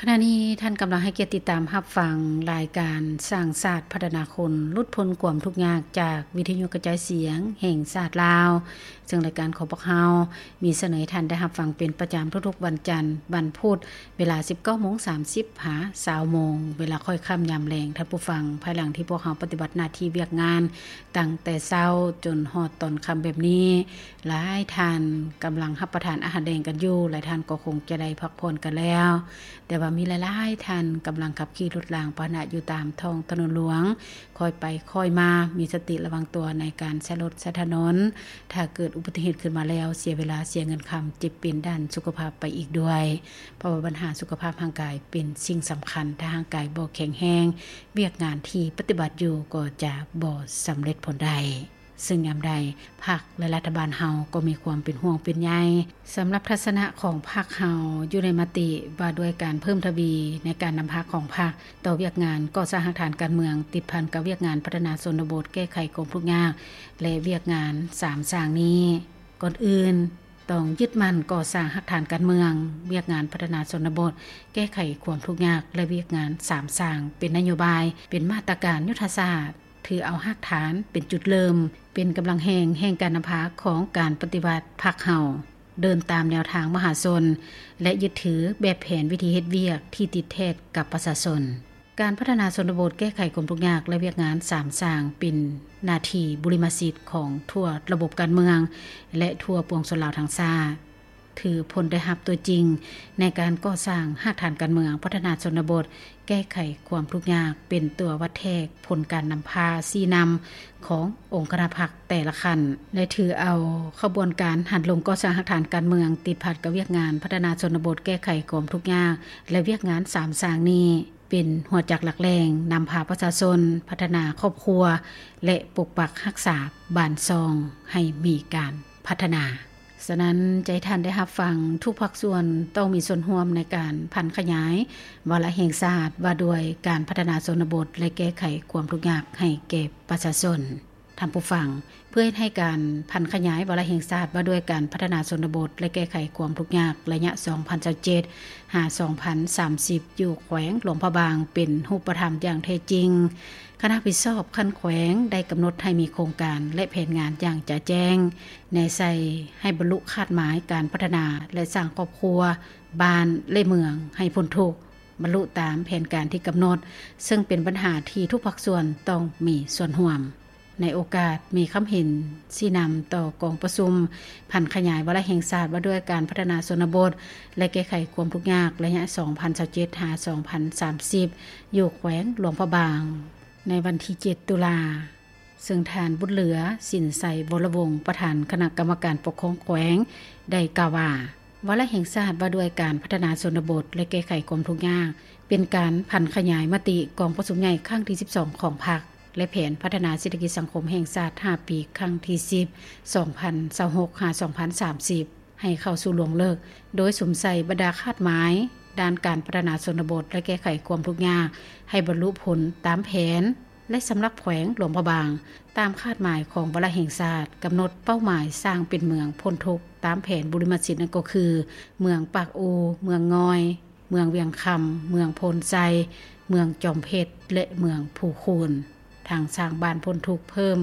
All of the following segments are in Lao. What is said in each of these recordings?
ຂະນະນີ້ທ່ານກຳລັງໃຫ້ກຽດຕິດຕາມຮັບຟັງລາຍການສ້າງຊາດພັດທະນາຄົນ ຫຼຸດພົ້ນຄວາມທຸກຍາກ ຈາກວິທະຍຸກະຈາຍສຽງແຫ່ງຊາດລາວ, ເຊິ່ງລາຍການຂອງພວກເຮົາມີສະເໜີໃຫ້ທ່ານໄດ້ຮັບຟັງເປັນປະຈຳທຸກໆວັນຈັນ, ວັນພຸດ, ເວລາສິບເກົ້າໂມງສາມສິບຫາຊາວໂມງ, ເວລາຄ້ອຍຄ່ຳຍາມແລງ, ທ່ານຜູ້ຟັງ, ພາຍຫຼັງທີ່ພວກເຮົາປະຕິບັດໜ້າທີ່ວຽກງານຕັ້ງແຕ່ເຊົ້າຈົນຮອດຕອນຄ່ຳແບບນີ້, ຫຼາຍທ່ານກຳລັງຮັບປະທານອາຫານແລງກັນຢູ່, ຫຼາຍທ່ານກໍຄົງຈະໄດ້ພັກຜ່ອນກັນແລ້ວ. ແຕ່ວ່າມີຫຼາຍໆທ່ານກຳລັງຂັບຂີ່ລົດລາງພາຫະນະຢູ່ຕາມທ້ອງຖະໜົນຫຼວງ, ຄ່ອຍໄປຄ່ອຍມາ, ມີສະຕິລະວັງຕົວໃນການໃຊ້ລົດໃຊ້ຖະໜົນ. ຖ້າເກີດອຸບັດຕິເຫດຂຶ້ນມາແລ້ວ, ເສຍເວລາເສຍເງິນຄຳ, ເຈັບເປັນດ້ານສຸຂະພາບໄປອີກດ້ວຍ. ເພາະວ່າບັນຫາສຸຂະພາບຮ່າງກາຍເປັນສິ່ງສຳຄັນ, ຖ້າຮ່າງກາຍບໍ່ແຂງແຮງ, ວຽກງານທີ່ປະຕິບັດຢູ່ກໍຈະບໍ່ສຳເລັດຜົນໄດ້. ເຊິ່ງຍາມໃດພັກ ແລະ ລັດຖະບານເຮົາກໍມີຄວາມເປັນຫ່ວງເປັນໃຍ. ສຳລັບທັດສະນະຂອງພັກເຮົາຢູ່ໃນມະຕິວ່າດ້ວຍການເພີ່ມທະວີໃນການນຳພາຂອງພັກຕໍ່ວຽກງານກໍ່ສ້າງຮາກຖານການເມືອງ ຕິດພັນກັບວຽກງານພັດທະນາຊົນນະບົດ, ແກ້ໄຂຄວາມທຸກຍາກ ແລະ ວຽກງານສາມສ້າງນີ້, ກ່ອນອື່ນຕ້ອງຍຶດໝັ້ນກໍ່ສ້າງຮາກຖານການເມືອງ, ວຽກງານພັດທະນາຊົນນະບົດ, ແກ້ໄຂຄວາມທຸກຍາກ ແລະ ວຽກງານສາມສ້າງ ເປັນນະໂຍບາຍ, ເປັນມາດຕະການຍຸດທະສາດ, ຖືເອົາຮາກຖານເປັນຈຸດເລີ່ມ, ເປັນກຳລັງແຮງແຫ່ງການນຳພາຂອງການປະຕິວັດພັກເຮົາ, ເດີນຕາມແນວທາງມະຫາຊົນ ແລະ ຍຶດຖືແບບແຜນວິທີເຮັດວຽກທີ່ຕິດແທດກັບປະຊາຊົນ. ການພັດທະນາຊົນນະບົດ, ແກ້ໄຂຄວາມທຸກຍາກ ແລະ ວຽກງານສາມສ້າງ ເປັນໜ້າທີ່ບຸລິມະສິດຂອງທົ່ວລະບົບການເມືອງ ແລະ ທົ່ວປວງຊົນລາວທັງຊາດ. ຖືຜົນໄດ້ຮັບຕົວຈິງໃນການກໍ່ສ້າງຮາກຖານການເມືອງ, ພັດທະນາຊົນນະບົດ, ແກ້ໄຂຄວາມທຸກຍາກ ເປັນຕົວວັດແທກຜົນການນຳພາຊີ້ນຳຂອງອົງຄະນະພັກແຕ່ລະຂັ້ນ ແລະ ຖືເອົາຂະບວນການຫັນລົງກໍ່ສ້າງຮາກຖານການເມືອງ ຕິດພັນກັບວຽກງານພັດທະນາຊົນນະບົດ, ແກ້ໄຂຄວາມທຸກຍາກ ແລະ ວຽກງານສາມສ້າງນີ້ ເປັນຫົວຈັກຫຼັກແຫຼ່ງນຳພາປະຊາຊົນພັດທະນາຄອບຄົວ ແລະ ປົກປັກຮັກສາບ້ານຊ່ອງໃຫ້ມີການພັດທະນາ. ສະນັ້ນ, ຈະໃຫ້ທ່ານໄດ້ຮັບຟັງ, ທຸກພາກສ່ວນຕ້ອງມີສ່ວນຮ່ວມໃນການຜັນຂະຫຍາຍວາລະແຫ່ງຊາດວ່າດ້ວຍການພັດທະນາຊົນນະບົດ ແລະ ແກ້ໄຂຄວາມທຸກຍາກໃຫ້ແກ່ປະຊາຊົນ. ທ່ານຜູ້ຟັງ, ເພື່ອເຮັດໃຫ້ການຜັນຂະຫຍາຍວາລະແຫ່ງຊາດວ່າດ້ວຍການພັດທະນາຊົນນະບົດ ແລະ ແກ້ໄຂຄວາມທຸກຍາກໄລຍະສອງພັນຊາວເຈັດຫາສອງພັນສາມສິບ ຢູ່ແຂວງຫຼວງພະບາງເປັນຮູບປະທຳຢ່າງແທ້ຈິງ, ຄະນະຮັບຜິດຊອບຂັ້ນແຂວງໄດ້ກຳນົດໃຫ້ມີໂຄງການ ແລະ ແຜນງານຢ່າງຈະແຈ້ງ, ແນໃສ່ໃຫ້ບັນລຸຄາດໝາຍການພັດທະນາ ແລະ ສ້າງຄອບຄົວ, ບ້ານ ແລະ ເມືອງໃຫ້ພົ້ນທຸກ, ບັນລຸຕາມແຜນການທີ່ກຳນົດ, ເຊິ່ງເປັນບັນຫາທີ່ທຸກພາກສ່ວນຕ້ອງມີສ່ວນຮ່ວມ. ໃນໂອກາດມີຄຳເຫັນຊີ້ນຳຕໍ່ກອງປະຊຸມຜັນຂະຫຍາຍວາລະແຫ່ງຊາດວ່າດ້ວຍການພັດທະນາຊົນນະບົດ ແລະ ແກ້ໄຂຄວາມທຸກຍາກໄລຍະສອງພັນຊາວເຈັດຫາສອງພັນສາມສິບ ຢູ່ແຂວງຫຼວງພະບາງ ໃນວັນທີເຈັດ ຕຸລາ, ເຊິ່ງທ່ານ ບຸດເຫຼືອ ສິນໄຊ ວໍລະວົງ ປະທານຄະນະກຳມະການປົກຄອງແຂວງ ໄດ້ກ່າວວ່າ, ວາລະແຫ່ງຊາດວ່າດ້ວຍການພັດທະນາຊົນນະບົດ ແລະ ແກ້ໄຂຄວາມທຸກຍາກ ເປັນການຜັນຂະຫຍາຍມະຕິກອງປະຊຸມໃຫຍ່ຄັ້ງທີສິບສອງຂອງພັກ ແລະ ແຜນພັດທະນາເສດຖະກິດສັງຄົມແຫ່ງຊາດຫ້າປີ ຄັ້ງທີສິບ ສອງພັນຊາວຫົກຫາສອງພັນສາມສິບ ໃຫ້ເຂົ້າສູ່ລວງເລິກ, ໂດຍສຸມໃສ່ບັນດາຄາດໝາຍດ້ານການພັດທະນາຊົນນະບົດ ແລະ ແກ້ໄຂຄວາມທຸກຍາກ ໃຫ້ບັນລຸຜົນຕາມແຜນ ແລະ ສຳລັບແຂວງຫຼວງພະບາງ, ຕາມຄາດໝາຍຂອງວາລະແຫ່ງຊາດ, ກຳນົດເປົ້າໝາຍສ້າງເປັນເມືອງພົ້ນທຸກຕາມແຜນບຸລິມະສິດ ນັ້ນກໍຄື ເມືອງປາກອູ, ເມືອງງອຍ, ເມືອງວຽງຄຳ, ເມືອງໂພນໄຊ, ເມືອງຈອມເພັດ ແລະ ເມືອງພູຄູນ, ທັງສ້າງບ້ານພົ້ນທຸກເພີ່ມ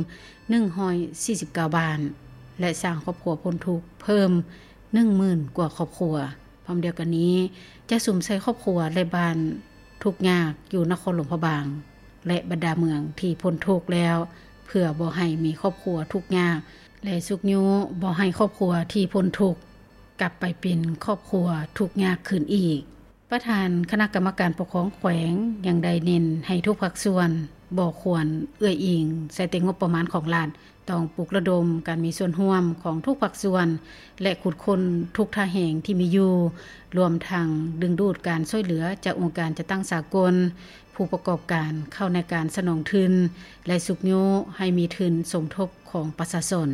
ໜຶ່ງຮ້ອຍສີ່ສິບເກົ້າບ້ານ ແລະ ສ້າງຄອບຄົວພົ້ນທຸກເພີ່ມໜຶ່ງໝື່ນກວ່າຄອບຄົວ. ພ້ອມດຽວກັນນີ້, ຈະສຸມໃສ່ຄອບຄົວ ແລະ ບ້ານທຸກຍາກຢູ່ນະຄອນຫຼວງພະບາງ ແລະ ບັນດາເມືອງທີ່ພົ້ນທຸກແລ້ວ, ເພື່ອບໍ່ໃຫ້ມີຄອບຄົວທຸກຍາກ ແລະ ຊຸກຍູ້ບໍ່ໃຫ້ຄອບຄົວທີ່ພົ້ນທຸກ ກັບໄປເປັນຄອບຄົວທຸກຍາກຄືນອີກ. ປະທານຄະນະກຳມະການປົກຄອງແຂວງຍັງໄດ້ເນັ້ນໃຫ້ທຸກພາກສ່ວນບໍ່ຄວນເອື້ອຍອີງໃສ່ແຕ່ງົບປະມານຂອງລັດ, ຕ້ອງປຸກລະດົມການມີສ່ວນຮ່ວມຂອງທຸກພາກສ່ວນ ແລະ ຂຸດຄົ້ນທຸກທ່າແຮງທີ່ມີຢູ່, ລວມທັງດຶງດູດການຊ່ວຍເຫຼືອຈາກອົງການຈັດຕັ້ງສາກົນ, ຜູ້ປະກອບການເຂົ້າໃນການສະໜອງທຶນ ແລະ ຊຸກຍູ້ໃຫ້ມີທຶນສົມທົບຂອງປະຊາຊົນ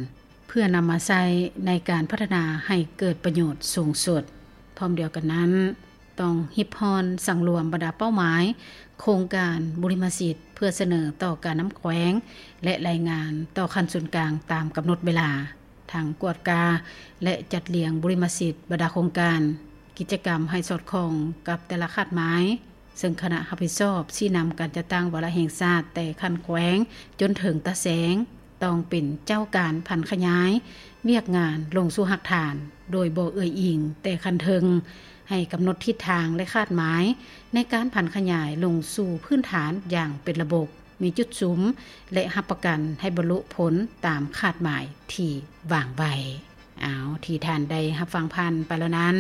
ເພື່ອນຳມາໃຊ້ໃນການພັດທະນາໃຫ້ເກີດປະໂຫຍດສູງສຸດ. ພ້ອມດຽວກັນນັ້ນ, ຕ້ອງຮິບຮ້ອນສັງລວມບັນດາເປົ້າໝາຍໂຄງການບຸລິມະສິດ ເພື່ອສະເໜີຕໍ່ການນຳແຂວງ ແລະ ລາຍງານຕໍ່ຂັ້ນສູນກາງຕາມກຳນົດເວລາ, ທັງກວດກາ ແລະ ຈັດລຽງບຸລິມະສິດບັນດາໂຄງການ, ກິດຈະກຳໃຫ້ສອດຄ່ອງກັບແຕ່ລະຄາດໝາຍ, ເຊິ່ງຄະນະຮັບຜິດຊອບຊີ້ນຳການຈັດຕັ້ງວາລະແຫ່ງຊາດແຕ່ຂັ້ນແຂວງຈົນເຖິງຕາແສງ ຕ້ອງເປັນເຈົ້າການຜັນຂະຫຍາຍວຽກງານລົງສູ່ຮາກຖານ ໂດຍບໍ່ເອື້ອຍອີງແຕ່ຂັ້ນເທິງ, ໃຫ້ກຳນົດທິດທາງ ແລະ ຄາດໝາຍໃນການຜັນຂະຫຍາຍລົງສູ່ພື້ນຖານຢ່າງເປັນລະບົບ, ມີຈຸດສຸມ ແລະ ຮັບປະກັນໃຫ້ບັນລຸຜົນຕາມຄາດໝາຍທີ່ວາງໄວ້. ເອົາ ທີ່ທ່ານໄດ້ຮັບຟັງຜ່ານໄປແລ້ວນັ້ນ,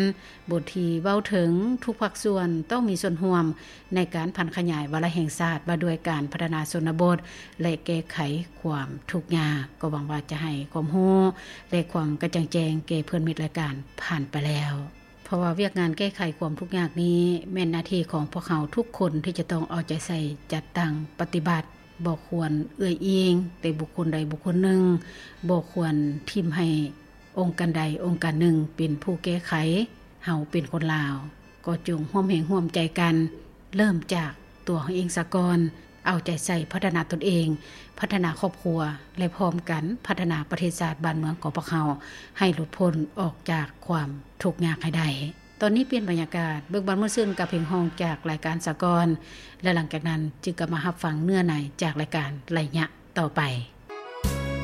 ບົດທີ່ເວົ້າເຖິງທຸກພາກສ່ວນຕ້ອງມີສ່ວນຮ່ວມໃນການຜັນຂະຫຍາຍວາລະແຫ່ງຊາດວ່າດ້ວຍການພັດທະນາຊົນນະບົດ ແລະ ແກ້ໄຂຄວາມທຸກຍາກ, ກໍຫວັງວ່າຈະໃຫ້ຄວາມຮູ້ ແລະ ຄວາມກະຈ່າງແຈ້ງແກ່ເພື່ອນມິດລາຍການຜ່ານໄປແລ້ວ. ເພາະວ່າວຽກງານແກ້ໄຂຄວາມທຸກຍາກນີ້ ແມ່ນໜ້າທີ່ຂອງພວກເຮົາທຸກຄົນທີ່ຈະຕ້ອງເອົາໃຈໃສ່ຈັດຕັ້ງປະຕິບັດ, ບໍ່ຄວນເອື້ອຍອີງແຕ່ບຸກຄົນໃດບຸກຄົນໜຶ່ງ, ບໍ່ຄວນຖິ້ມໃຫ້ອົງການໃດອົງການໜຶ່ງເປັນຜູ້ແກ້ໄຂ. ເຮົາເປັນຄົນລາວ ກໍຈົ່ງຮ່ວມແຮງຮ່ວມໃຈກັນ, ເລີ່ມຈາກຕົວເຮົາເອງສາກ່ອນ, ເອົາໃຈໃສ່ພັດທະນາຕົນເອງ, ພັດທະນາຄອບຄົວ ແລະ ພ້ອມກັນພັດທະນາປະເທດຊາດບ້ານເມືອງຂອງພວກເຮົາ ໃຫ້ຫຼຸດພົ້ນອອກຈາກຄວາມທຸກຍາກໃຫ້ໄດ້. ຕອນນີ້ປ່ຽນບັນຍາກາດ, ເບິ່ງບ້ານມ່ວນຊື່ນກັບເພງຮ້ອງຈາກລາຍການສາກອນ ແລະ ຫຼັງຈາກນັ້ນຈຶ່ງກັບມາຮັບຟັງເນື້ອໃນຈາກລາຍການໄລຍະຕໍ່ໄປ.